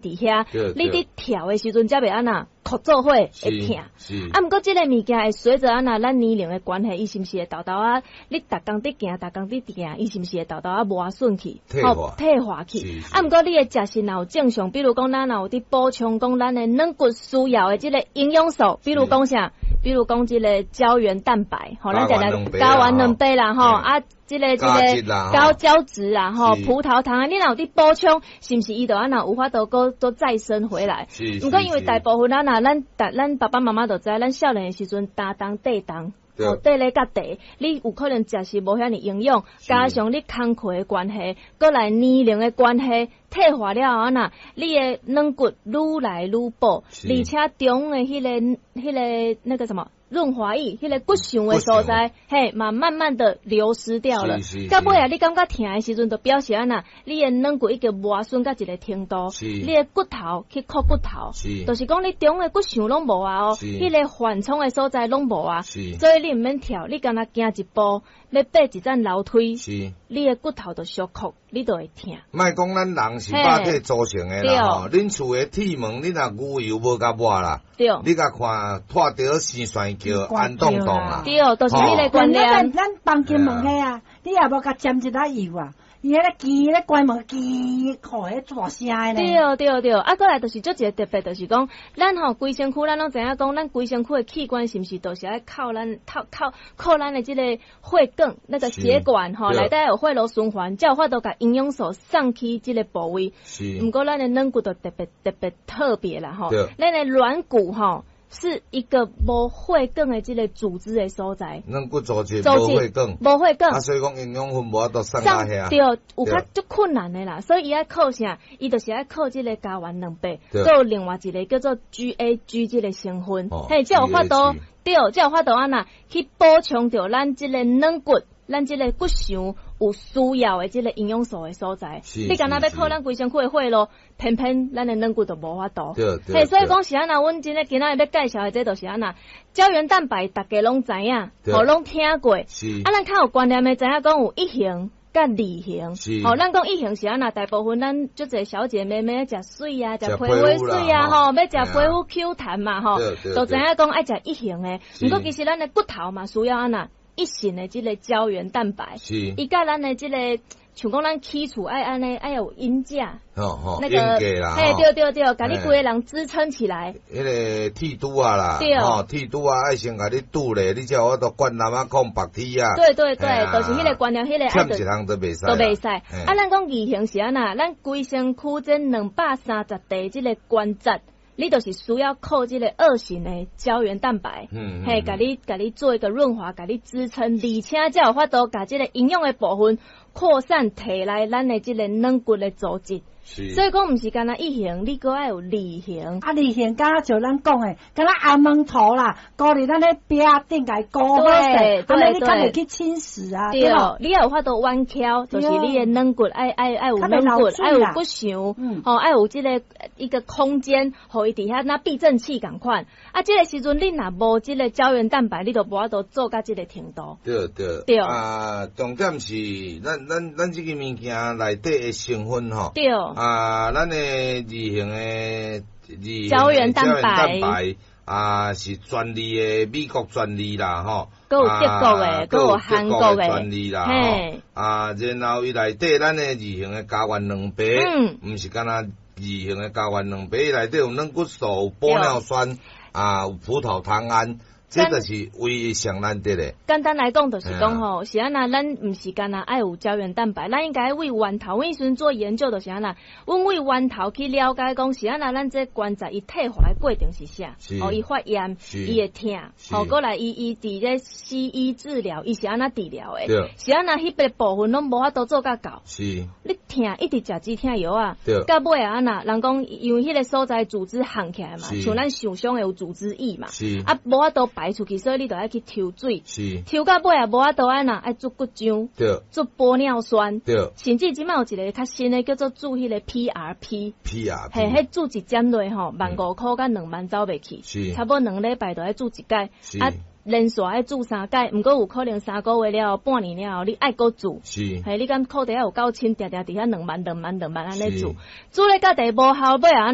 佇遐，你佇跳的時陣才袂按怎箍做伙會疼。啊，毋過這个物件會隨著按怎咱年齡的關係，伊是毋是會沓沓仔？你逐工佇行，逐工佇行，伊是毋是會沓沓仔磨損去？退化去。啊，毋過你的食食若有正常，比如講咱若有佇補充講咱的軟骨需要的這個營養素，比如講啥？比如講這個膠原蛋白，吼，咱食來膠原蛋白啦，吼啊。這個高膠質啊，吼，葡萄糖啊，你若有佇補充，是毋是伊就按怎有法度閣閣再生回來？毋過因為大部分咱若咱咱爸爸媽媽就知，咱少年的時陣擔重體重，吼，綴咧較濟，你有可能食是無遐爾營養，加上你工課的關係，閣來年齡的關係，退化了後按怎，你的軟骨愈來愈薄，而且中的彼個那個什麼？潤滑液，彼個骨相的所在，嘿，嘛慢慢的流失掉了。到尾啊，你感覺疼的時陣，就表示按怎，你的軟骨已經磨損到一個程度，你的骨頭去箍骨頭，就是講你中的骨相攏無啊哦，彼個緩衝的所在攏無啊，所以你毋免跳，你干焦行一步，欲爬一層樓梯，你的骨頭就相箍，你就會疼。莫講咱人是肉體組成的啦，吼，恁厝的鐵門，你若牛油無共抹啦，你共看拖著生痲叫安動動啦，對，就是彼个觀念。咱房間門彼啊，你也無共沾一下油啊？伊彼个機咧關門機，吼，彼大聲的咧。對對對，啊，閣來就是足一个特別，就是講，咱吼規身軀，咱攏知影講，咱規身軀的器官是毋是都是愛靠咱靠靠靠咱的這个血管，那個血管吼，內底有血路循環，才有法度共營養素送去這个部位。毋過咱的軟骨就特別特別特別啦吼，咱的軟骨吼，是一個無血管的這個組織的所在。軟骨組織無血管，無血管。啊，所以講營養分無法度送到遐。對，有較足困難的啦，所以伊愛靠啥？伊就是愛靠這個膠原蛋白，閣有另外一個叫做 GAG 這個成分，嘿，才有法度，對，才有法度按怎去補充著咱這個軟骨，咱這個骨相有需要的這個營養素的所在。你敢若欲靠咱規身軀的血路，偏偏咱的軟骨就無法度。嘿，所以講是按怎，阮今日今仔日欲介紹的這就是按怎，膠原蛋白逐家攏知影，吼，攏聽過。啊，咱較有觀念的知影講有一型佮二型。吼，咱講一型是按怎，大部分咱足濟小姐妹妹食媠啊，食皮膚媠啊，吼，欲食皮膚 Q 彈嘛，吼，都知影講愛食一型的。毋過其實咱的骨頭嘛需要按怎？一型的這個膠原蛋白，伊佮咱的這個，像講咱起厝愛按呢，愛有鷹架，那個，嘿，對對對，共你規个人支撐起來。彼个鐵拄仔啦，吼，鐵拄仔愛先共你拄咧，你才有法度灌籃仔控白鐵啊。對對對，就是彼個觀念，彼個欠一項都袂使，都袂使。啊，咱講二型是按怎？咱規身軀這230塊這個關節。你就是需要靠這個二型的膠原蛋白，嘿，共你做一個潤滑，共你支撐，而且才有法度共這個營養的部分擴散提來咱的這個軟骨的組織。所以講，毋是干焦一型，你閣愛有二型。啊，二型敢若像咱講的，敢若紅毛頭啦，糊佇咱咧壁頂共伊糊好勢，按呢你較袂去侵蝕啊。對，你愛有法度彎翹，就是你的軟骨愛有軟骨，愛有骨相，吼，愛有這個一個空間，予伊佇遐若避震器仝款。啊，這個時陣你若無這個膠原蛋白，你就無法度做到這個程度。對對對。啊，重點是咱這個物件內底的成分吼。對。啊，咱的二型的二膠原蛋白啊，是專利的美國專利啦，吼，閣有德國的，閣有韓國的專利啦，吼。啊，然後伊內底咱的二型的膠原蛋白，毋是干焦二型的膠原蛋白，伊內底有軟骨素、有玻尿酸，啊，有葡萄糖胺。這就是唯一上難得的。簡單來講，就是講吼，是按怎，咱毋是干焦愛有膠原蛋白，咱應該為源頭。阮彼陣做研究，就是按怎，阮為源頭去了解講，是按怎，咱這關節伊退化的過程是啥？哦，伊發炎，伊會疼，哦，閣來伊佇咧西醫治療，伊是按怎治療的？是按怎，彼個部分攏無法度做甲到。你疼一直食止疼藥啊，到尾啊按怎，人講因為彼個所在組織夯起來嘛，像咱受傷會有組織液嘛，啊，無法度排出去，所以你就愛去抽水，抽到尾也無法度按怎，愛注骨漿，注玻尿酸，甚至這擺有一个較新的叫做注彼个 PRP， PRP，嘿，彼注一針落吼，15,000箍佮2萬走袂去，差不多兩禮拜就愛注一擺，啊。連續愛注三擺，毋過有可能3個月了後，半年了後，你愛閣注。嘿，你敢褲底仔有夠深，定定佇遐2萬、2萬、2萬按呢注，注咧到第無效尾啊，按